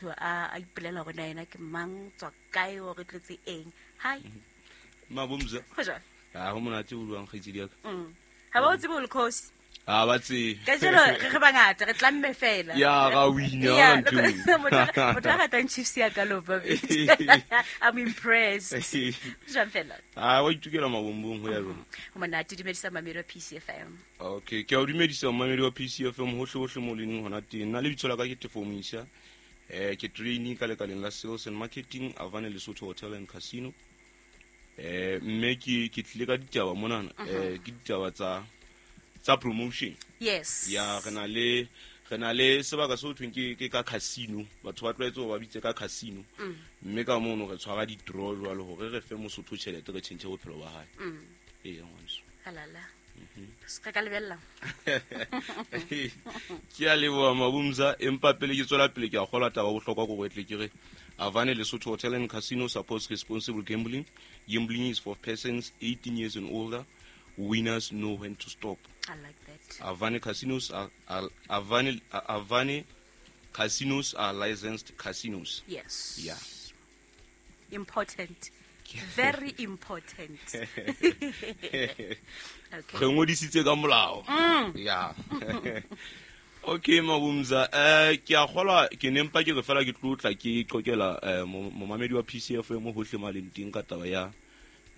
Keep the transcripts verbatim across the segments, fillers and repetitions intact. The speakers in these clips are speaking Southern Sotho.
A a ipolela hore na yena ke mang, tswa kae, o re tletse eng. Hi. Mabumza. Ho jwang? Ah, ho monate o buang, kgaitsedi ya ka. Mm. Ha ba o tsebe o le khosi. Ah, ba tsebe. Ka jeno re re bangata, re tlamme fela. Ya ra wina Ya, ntho. motho motho a ratang Chiefs ya ka loba. I'm impressed. Jwang fela? Ah, wa itukela mabombong ho ya jona. Ho monate, dumedisa mamedi wa P C F M. Okay, ke a o dumedisa momamedi wa P C F M hohle hohle mo leng hona teng. Nna lebitso la ka ke Tefo Moisa. Eh ke trainee ka lekaleng la sales and marketing Avane Lesotho Hotel and Casino. Eh mme ke ke tlile ka ditaba monana, eh ke ditaba tsa tsa promotion. Yes. Ya, re na le re na le sebaka se ho thweng ke ke ka casino. Batho ba tlwaetse hore ba bitse ka casino, mme ka mono re tshwara di-draw jwalo hore re fe Mosotho tjhelete, re tjhentjhe bophelo ba hae. Ee, ngwaneso. Halala. Se ka lebella. Ke a leboha, Mabumza, empa pele ke tswela pele, ke a kgolwa taba bohlokwa ko tle ke re Avane Lesotho Hotel and Casino supports responsible gambling. Gambling is for persons eighteen years and older. Winners know when to stop. I like that. Avane casinos are, are Avane Avane casinos are licensed casinos. Yes. Yeah. Important. Very important. Okay. Re ngodisitse ka molao. Ya, okay, Mabumza, eh ke a kgolwa ke ne mpa ke re fela ke tlo tla ke qoqela eh, mo- momamedi wa P C F M hohle mo a leng teng ka taba ya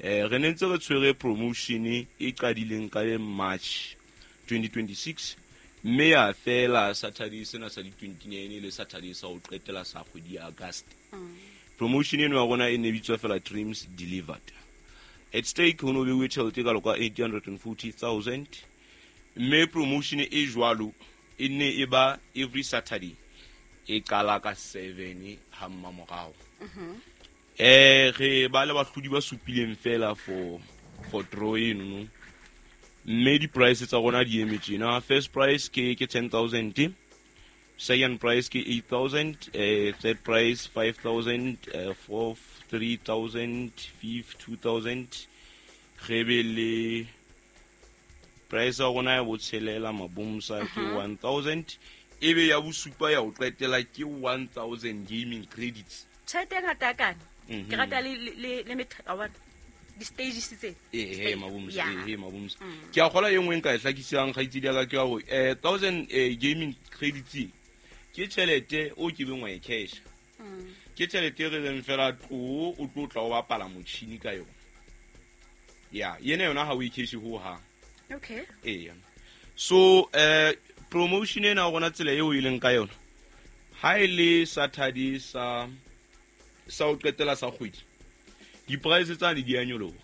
eh re ne ntse re tshwere promotion e qadileng ka le March twenty twenty-six, mme ya fela Saturday sena sa di twenty-nine le Saturday sa ho qetela sa kgwedi ya August. Promotion eno ya rona e ne bitswa fela Dreams Delivered. At stake ho no beuwe tjhelete e kalo ka eight hundred forty thousand, mme promotion e jwalo e ne e ba every Saturday, e qala ka seven ha mmamorao. eh re ba le bahlodi ba supileng fela for for draw eno no, mme di-price tsa rona di eme tjena. First price ke ke ten thousand, second price ke eight thousand, eh third price five thousand, eh, fourth three thousand, fifth two thousand. Re be le price ya rona ya botshelela, Mabomsa, ke one thousand, ebe ya bosupa ya ho qetela ke one thousand gaming credits. Tjhelete e ngata kana. Mhm. Ke rata le le le metha wa bona. Di-stages tse. Ee, Mabomsa. Yeah. Ee, Mabomsa, ke a kgola e nngwe nka e hlakisang, kgaitsedi ya ka, ke ya hore um thousand eh, gaming credits ke tjhelete o ke beng wa e cash, ke tjhelete e re reng fela tlo o tlo tla o bapala motjhini ka yona. Ya yena yona ha o e cash ho hang. Okay. Eya, so eh promotion ena rona, tsela eo e leng ka yona, ha e le Saturday sa sa ho qetela sa kgwedi, di-price tsane di a nyoloha,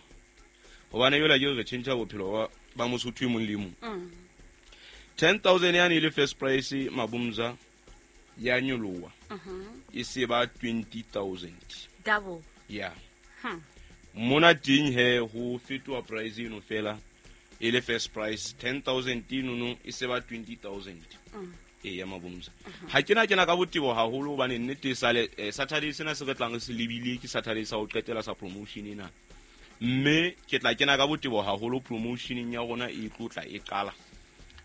hobane yola ke re tjhentjha bophelo ba- ba Mosotho e mong le e mong. Ten thousand yane e le first price, Mabumza, ya nyoloha, e se ba twenty thousand. Double. Ya, mona teng he ho fetoha price eno fela e le first price ten thousand enono e se ba twenty thousand. Ee ya, Mabomsa, ha ke na kena ka botebo haholo hobane nnete e sale eh, Saturday sena se re tlang re se lebile ke Saturday sa ho qetela sa promotion ena, mme ke tla kena ka botebo haholo promotioneng ya rona e tlo tla e qala,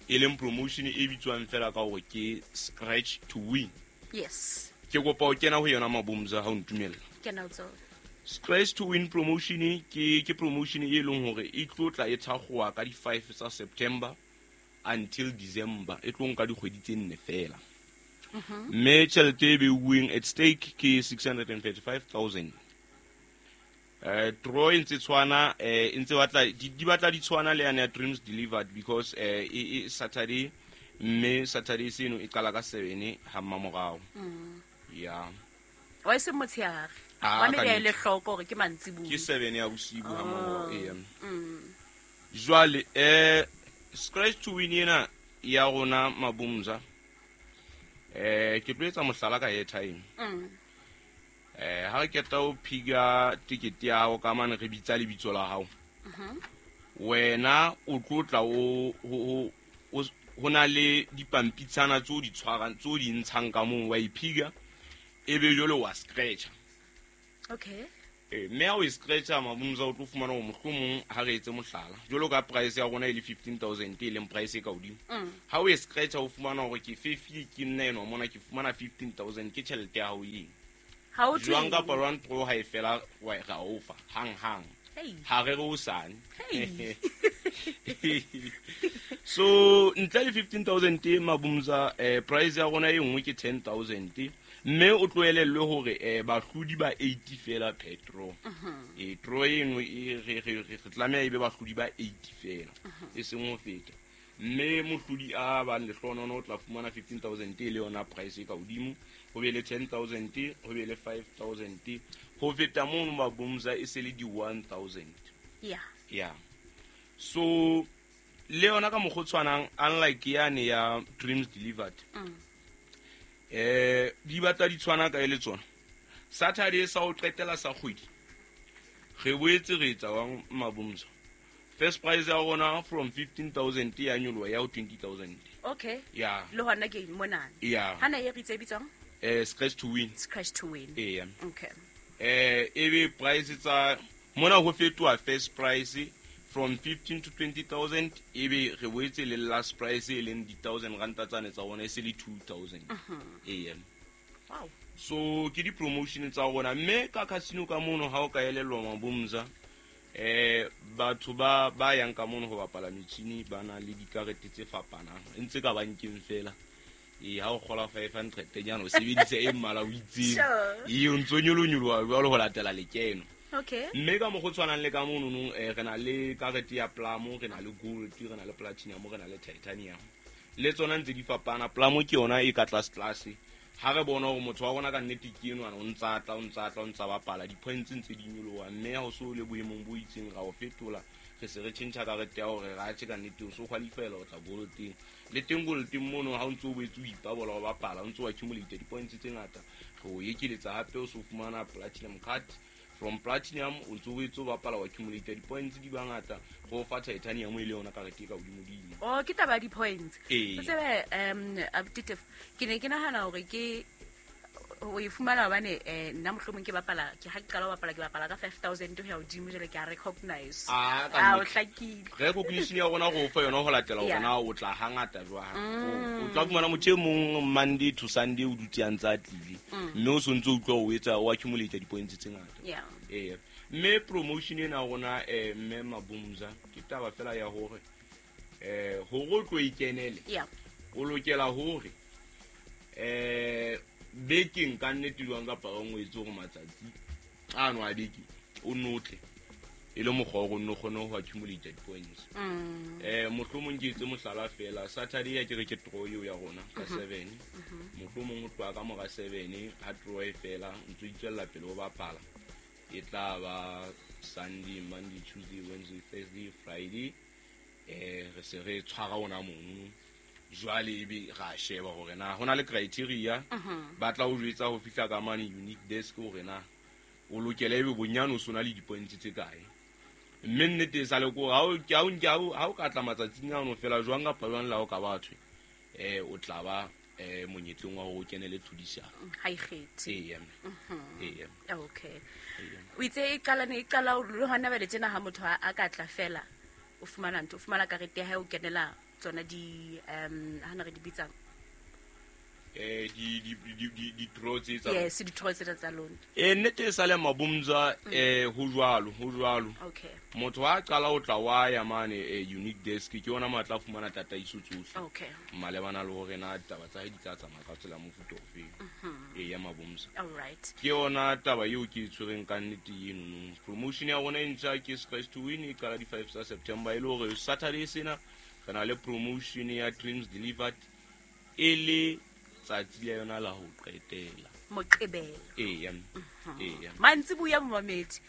e leng promotion e bitswang fela ka hore ke Scratch to Win. Yes. Ke kopa ho kena ho yona, Mabomsa, ha o ntumella. Ke na o tsona. Scratch to Win promotion ke ke promotion e leng hore e tlo tla e thakgowa ka di-five tsa September until December, e tlo nka dikgwedi tse nne fela, mme tjhelete e beuweng at stake ke six hundred and thirty-five thousand. eh draw e ntse tshwana, eh e ntse batla di di batla di tshwana le yane ya Dreams Delivered, because eh e e Saturday, mme Saturday seno e qala ka seven ha mmamorao ya. Wa e seng motshehare. Ah, Wa ka mme le nnete. hloko hore ke mantsibuya. Ke seven ya bosibu ha mmamorao, ee. Jwale eh Scratch to Win ena ya rona, Mabumza, eh ke tlo etsa mohlala ka airtime. Mm. eh ha re keta o phiga tikete ya hao ka mane, re bitsa lebitso la hao, wena o tlo tla o ho ho ho na le dipampitshana tseo di tshwarang, tseo di ntshang ka moo, wa iphiga, ebe jwale wa scratcha. Okay. Eh, mme ha o e scratcha mabumza o tlo fumana hore mohlomong ha re etse mohlala jwalo ka price ya rona e le fifteen thousand e leng price e ka hodimo. Ha o e scratcha o fumana hore ke fifty ke nna enwa mona ke fumana fifteen thousand ke tjhelete ya hao eng. Ha o Jwang kapa jwang draw ha e fela wa ra o fa hang hang. Hey. Ha re re o sane. Hey. So ntle le fifteen thousand e mabumza eh, price ya rona e nngwe ke ten thousand. Mme o tloelellwe hore eh, bahlodi ba eighty fela per draw. Eh, draw eno e re, re, re, re tlameha e be bahlodi ba eighty fela, e seng ho feta. Mme mohlodi a bang lehlohonolo o tla fumana fifteen thousand e le yona price e ka hodimo, ho be le ten thousand, ho be le five thousand. Ho feta mono mabumza e se le di one thousand. Yeah. Yeah. So le yona ka mokgwa o tshwanang, unlike yane ya Dreams Delivered. Mm. Eh, di batla di tshwana ka e le tsona. Saturday sa ho qetela sa kgwedi, re boetse re etsa wang mabumza. First prize ya rona from fifteen thousand ya nyoloha ya ho twenty thousand. Okay. Yeah. Le hona ke monana. Yeah. Hana e re tse bitswang? Eh, scratch to win. Scratch to win. Yeah. Okay. Eh, e be price tsa mona ho fetoha first price from fifteen to twenty thousand, e be re boetse le last price e leng di thousand ranta tsane tsa rona e se le two thousand. Ee. Wow. So ke di promotion tsa rona mme ka casino ka mono ha o ka elellwa mabumza, eh, batho ba, ba yang ka mono ho bapala metjhini ba na le dikarete tse fapanang e ntse ka bankeng fela. Ee, ha o kgola five hundred nyana o sebedisa e mmala o itseng. Sure. Ee, o ntso nyolonyoloha jwalo ho latela lekeno. Okay. Mme ka mokgwa o tshwanang le ka mono nong, eh, re na le karete ya Plamo, re na le gold, re na le platinum, re na le titanium. Le tsona ntse di fapana. Plamo ke yona e ka tlase tlase. Ha re bona hore motho wa rona ka nnete ke enwa, o ntsa tla, o ntsa tla, o ntsa bapala, di-points ntse di nyoloha, mme ha o so le boemong bo itseng ra o fetola, re se re tjhentjha karete ya hore ra tjhe ka nnete o so qualify-ela ho tla gold-eng. Le teng gold-eng mono ha o ntso o boetse o ipabola o bapala, o ntso o accumulate di-points tse ngata, re o ekeletsa hape o so fumana platinum card. From platinum o ntso o boetse o bapala o accumulate di-points di bangata, re o fa titanium e le yona karete e ka hodimodimo. Oh, ke taba ya di-points. Ee. O tsebe, um, Abuti, ke ne ke nahana hore ke o e fumana hobane, eh, nna mohlomong ke bapala, ke ha ke qala ho bapala, ke bapala ka five thousand ho ya hodimo, jwale ke a recognize. Ah, ka Ah, o nnete. hlakile. Recognition ya rona re o fa yona ho latela hore Yeah. na o tla hangata jwang. Mm. O tla fumana motho e mong Monday to Sunday o dutse a ntse a tlile. Mm. Mme o sontse o utlwa o etsa, o accumulate di-points tse ngata. Yeah. Ee. Mme promotion ena ya rona, eh, mme Mabumza, ke taba fela ya hore, eh, hore o tlo e kenele, Yeah. o lokela hore, eh, bekeng ka nnete jwang kapa o ngwetse hore matsatsi ano a beke o notle e le mokgwa wa hore o nno kgone ho accumulate di-points. Mm. Eh, mohlomong ke etse mohlala fela, Saturday ya ke re ke draw eo ya rona ka Mhm. seven. Mhm. Mohlomong o tloha ka mora seven ha draw e fela, o ntso itswella pele o bapala. E tla ba Sunday, Monday, Tuesday, Wednesday, Thursday, Friday. Eh, re se re tshwara ona mono. Jwale ebe ra sheba hore na ho na le criteria. Mhm. Ba tla o jwetsa ho fihla ka mane unique desk hore na o lokela ebe bonyane o sona le di-points tse kae. Mme nnete e sale ko ha o, ha o, ha o, ha o ka tla matsatsing ano fela jwang kapa jwang le ha o ka bathwe, eh, o tla ba, eh, monyetleng wa hore o kenele tlhodisano. Ha e kgethe. Eya. Mhm. Eya. Okay. Eya. O itse e qala ne e qala le hona bale tjena ha motho a, a ka tla fela, o fumana ntho, o fumana karete ya hae, o kenela tsona di, um, ha na re di bitsang? Eh, di, di, di, di, di draw tse tsa Yes, di draw tsena tsa lona. Eh, nnete e sale Mabumza, Mm. eh, ho jwalo, ho jwalo. Okay. Motho ha qala ho tla wa ya mane, eh, unique desk, ke yona matla a fumana tataiso tsohle. Okay. Malebana le hore na ditaba tsa hae di tla tsamaya ka tsela mofuta ofe. Mhm. Eh, ya Mabumza. All right. Ke yona taba eo ke e tshwereng ka nnete eno no. Promotion ya rona e ntjha ke Scratch to Win, e qala di five tsa September, e le hore Saturday sena re na le promotion ya Dreams Delivered e le tsatsi la yona la ho qetela. Moqebelo. Eya. Mhm. Eya. Mantsiboya momamedi.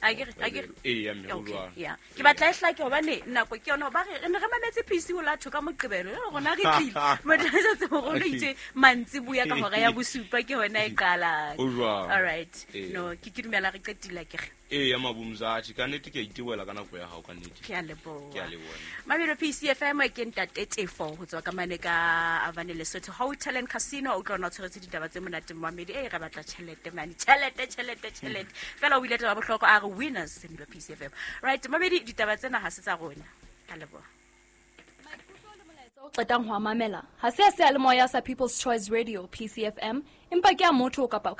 A ke re, a ke re. Eya, mme ho Okay, jwalo. yeah. Ke batla e hlake hobane nako ke yona, ba re, re ne re mametse P C ho la thoko ka Moqebelo, jwale rona re tlile. Motho a setse itse mantsiboya ka hora ya bosupa ke hona e qalang. Ho jwalo. All right. Eya. No, ke ke dumela re qetile akere. Ee ya Mabumza, atjhe, ka nnete ke a itebohela ka nako ya hao, ka nnete. Ke a leboha. Ke a leboha. Mamelo P C F M, ke ntate Tefo ho tswa ka mane ka Avane Lesotho Hotel and Casino. O utlwa ona o tshweretse ditaba tse monate, momamedi. E re batla tjhelete mane, tjhelete, tjhelete, tjhelete fela. O ile taba bohlokwa, a re winners in P C F M. Right, mamedi, ditaba tsena ha se tsa rona. Ka leboha. O qetang ho a mamela ha se a seyalemoya sa People's Choice Radio, P C F M, empa ke a motho kapa